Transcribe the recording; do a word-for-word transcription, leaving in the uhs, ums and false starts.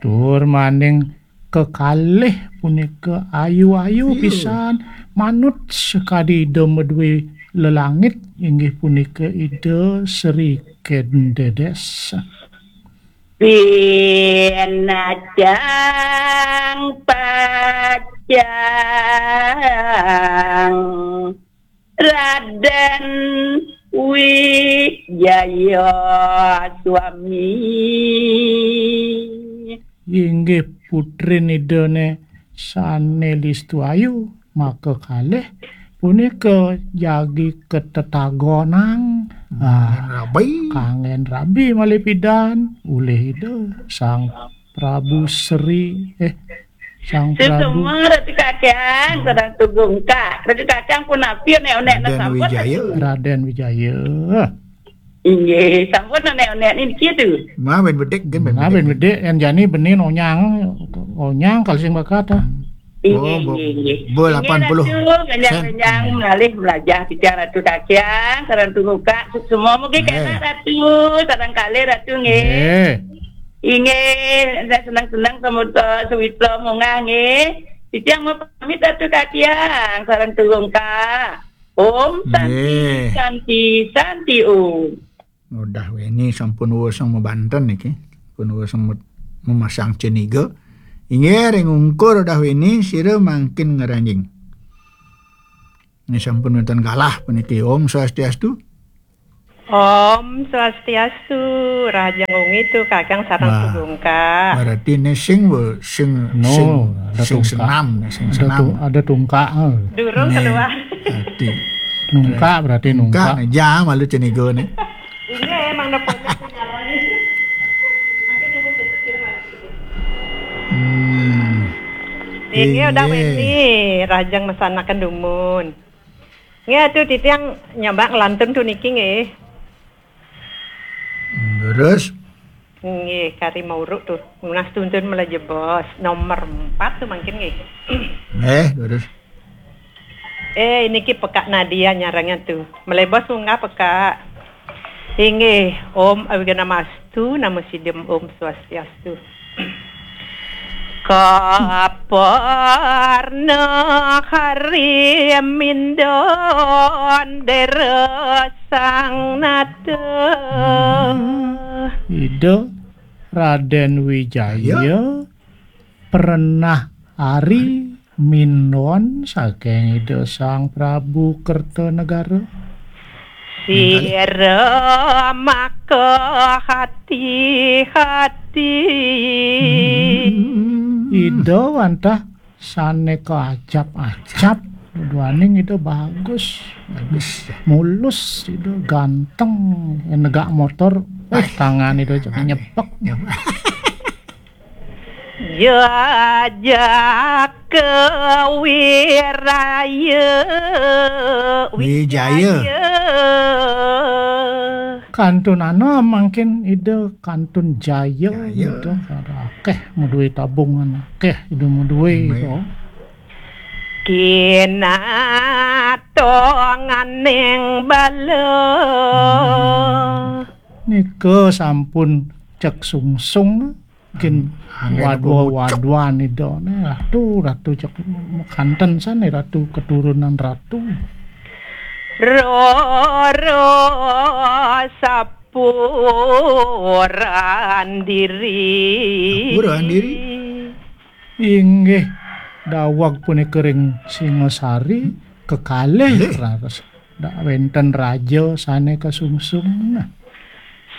Tur maning kekalih punika ayu-ayu Iya. pisan, manut sakadi Ida madué lelangit, inggih punika Ida Sri Kendedes. Pinacang pacang Raden Wijaya Swami. Inggih putrin Idane sane listu ayu, maka kalih punika jagi ketetagonang. Ah, Kangen rabi. Kangen rabi malih pidan ulih Ida Sang Prabu Sri, eh, Sang Prabu. Suksma Ratu Kakang, sareng tugungkak. Ratu Kakang punapi onek-onek Raden sampun? Wijaya. Raden Wijaya. Inggih, sampun onek-onek niki tu. Maben bedik, kan ben Nah, ben bedik. Bedik, yang jani benih onyang, onyang kalau sing bakat, ah. Inggih, Oh, bo-, inggih, inggih. Bo Inggih, lapan puluh Ratu, sen. Menjang-menjang malih melajah titiang Ratu Kakang, sareng tugungkak, suksma mugi Eh. Kena Ratu, sareng kalih Ratu nggih. Eh. Inggih, senang-senang semuto sewitra munggah nggih. Titiang mau pamit Ratu Kakang, sareng tugungkak. Om Santi, Nggih. Santi, Santi Om. Udah wéni sampun wosong mabanten niki. Pun wosong me-, memasang ceniga. Inggih ring ungkur udah wéni sira mangkin ngranjing. Ini sampun wonten galah puniki. Om Swastiastu. Om Swastiastu, Rahajeng Wengi tu Kakang sareng Wah, tugungkak. Berarti ini sing wo-, sing, No, sing, ada sing tungkak. Senam, sing Ada senam. Tu-, ada tungkak, eh. Durung Nih, keluar. Berarti. Nungkak berarti nungkak. Nungkak, nih, jam malu cenigo nih. Ini emang nepunya punya lagi. Hmm. Ini udah Inggih. Wengi, Rahajeng mesanaken dumun. Nggih, atuh titiang nyabak ngelantun tu niki nggih. Terus? Nggih, kari mauruk tu. Nunas tuntun melejebos. Nomor empat tu mangkin nggih. Eh, terus? Eh, ini ki pekak Nadia nyarangnya tu. Melebos munggah pekak. Inggih, Om Awighnamastu, Namo Siddham, Om Swastiastu. Kaparna hari mindon dera sang nata. Hmm. Ida Raden Wijaya Ya. Pernah ari minduan saking Ida Sang Prabu Kertanegara. Sira maka hati-hati. Hmm. Ida wantah sane kaacap-acap, duaning Ida bagus. Bagus, ya. Mulus, Ida ganteng, negak motor, eh, tangan Ida cek nyepek. Nyepek. Jajaka wiraya, Wijaya. Wijaya. Kantunana mangkin Ida kantun jaya, Jaya. Gitu. Ada akeh madué tabungan, akeh Ida madué, Baik. Gitu. Kinatonganing bala. Hmm. Nika sampun cek sungsung. Mungkin anggen wadwa-wadwan Ida ne, Ratu, Ratu cek kanten sane, Ratu keturunan Ratu. Roro sapuran diri. Sapuran diri. Inggih, daweg punika ring Singasari, kekalih Nggih. Ratus. Dak wenten raja sane kasungsung. Nah.